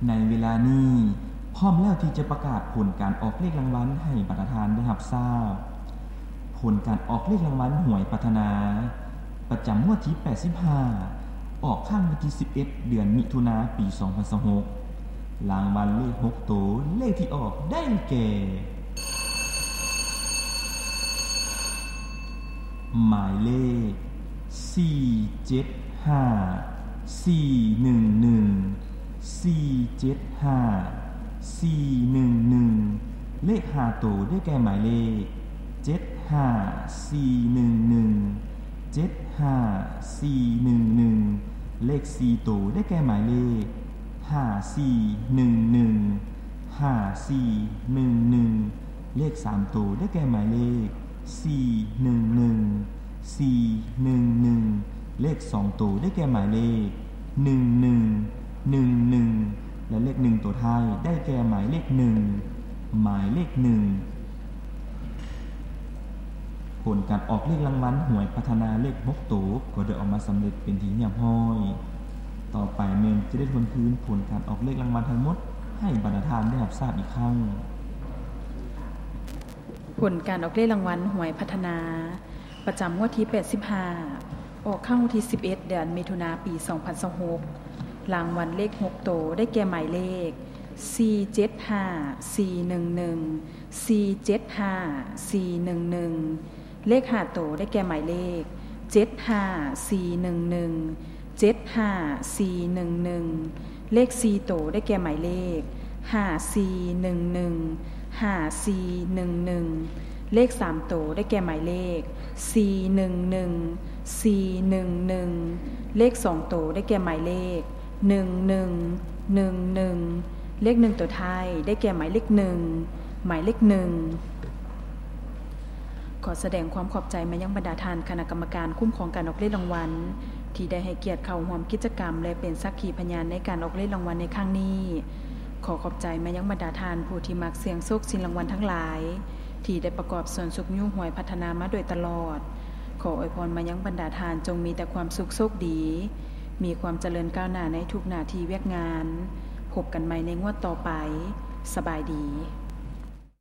ໃນເວລານີ້ ພ້ອມແລ້ວທີ່ຈະປະກາດຜົນການອອກເລກລາງວັນໃຫ້ບັນດາທ່ານໄດ້ຮັບຊາບ. ຜົນການອອກເລກລາງວັນຫວຍພັດທະນາ ປະຈຳງວດທີແປດສິບຫ້າ ອອກຄັ້ງວັນທີສິບເອັດ ເດືອນມິຖຸນາ ປີສອງພັນຊາວຫົກ. ລາງວັນເລກຫົກໂຕ ເລກທີ່ອອກໄດ້ແກ່ ໝາຍເລກ ສີ່ເຈັດຫ້າ ສີ່ໜຶ່ງໜຶ່ງ ສີ່ເຈັດຫ້າ ສີ່ໜຶ່ງໜຶ່ງ. ເລກຫ້າໂຕ ໄດ້ແກ່ໝາຍເລກ ເຈັດຫ້າສີ່ໜຶ່ງໜຶ່ງ ເຈັດຫ້າສີ່ໜຶ່ງໜຶ່ງ. ເລກສີ່ໂຕ ໄດ້ແກ່ໝາຍເລກ ຫ້າສີ່ໜຶ່ງໜຶ່ງ ຫ້າສີ່ໜຶ່ງໜຶ່ງ. ເລກສາມໂຕ ໄດ້ແກ່ໝາຍເລກ ສີ່ໜຶ່ງໜຶ່ງ ສີ່ໜຶ່ງໜຶ່ງ. ເລກສອງໂຕ ໄດ້ແກ່ໝາຍເລກ ໜຶ່ງໜຶ່ງໜຶ່ງໜຶ່ງ ແລະ ເລກໜຶ່ງໂຕທ້າຍ ໄດ້ແກ່ໝາຍເລກໜຶ່ງ ໝາຍເລກໜຶ່ງ. ຜົນການອອກເລກລາງວັນຫວຍພັດທະນາເລກຫົກໂຕ ກໍໄດ້ອອກມາສຳເລັດເປັນທີ່ຮຽບຮ້ອຍ. ຕໍ່ໄປແມ່ນຈະໄດ້ທວນຄືນຜົນການອອກເລກລາງວັນທັງໝົດໃຫ້ບັນດາທ່ານໄດ້ຮັບຊາບອີກຄັ້ງ. ຜົນການອອກເລກລາງວັນຫວຍພັດທະນາ ປະຈຳງວດທີແປດສິບຫ້າ ອອກຄັ້ງວັນທີສິບເອັດ ເດືອນມິຖຸນາ ປີສອງພັນຊາວຫົກ. ລາງວັນເລກຫົກໂຕ ໄດ້ແກ່ໝາຍເລກ ສີ່ເຈັດຫ້າສີ່ໜຶ່ງໜຶ່ງ ສີ່ເຈັດຫ້າສີ່ໜຶ່ງໜຶ່ງ. ເລກຫ້າໂຕ ໄດ້ແກ່ໝາຍເລກ ເຈັດຫ້າສີ່ໜຶ່ງໜຶ່ງ ເຈັດຫ້າສີ່ໜຶ່ງໜຶ່ງ. ເລກສີ່ໂຕ ໄດ້ແກ່ໝາຍເລກ ຫ້າສີ່ໜຶ່ງໜຶ່ງ ຫ້າສີ່ໜຶ່ງໜຶ່ງ. ເລກສາມໂຕ ໄດ້ແກ່ໝາຍເລກ ສີ່ໜຶ່ງໜຶ່ງ ສີ່ໜຶ່ງໜຶ່ງ. ເລກສອງໂຕ ໄດ້ແກ່ໝາຍເລກ ໜຶ່ງໜຶ່ງໜຶ່ງໜຶ່ງ. ເລກໜຶ່ງໂຕທ້າຍ ໄດ້ແກ່ໝາຍເລກໜຶ່ງ ໝາຍເລກໜຶ່ງ. ຂໍສະແດງຄວາມຂອບໃຈມາຍັງບັນດາທ່ານຄະນະກຳມະການຄຸ້ມຄອງການອອກເລກລາງວັນ ທີ່ໄດ້ໃຫ້ກຽດເຂົ້າຮ່ວມກິດຈະກຳ ແລະ ເປັນສັກຂີພະຍານໃນການອອກເລກລາງວັນໃນຄັ້ງນີ້. ຂໍຂອບໃຈມາຍັງບັນດາທ່ານຜູ້ທີ່ມັກສ່ຽງໂຊກຊິງລາງວັນທັງຫຼາຍ ທີ່ໄດ້ປະກອບສ່ວນຊຸກຍູ້ຫວຍພັດທະນາມາໂດຍຕະຫຼອດ. ຂໍອວຍພອນມາຍັງບັນດາທ່ານຈົ່ງມີແຕ່ຄວາມສຸກໂຊກດີ, ມີຄວາມຈະເລີນກ້າວໜ້າໃນທຸກໜ້າທີ່ວຽກງານ. ພົບກັນໃໝ່ໃນງວດຕໍ່ໄປ. ສະບາຍດີ.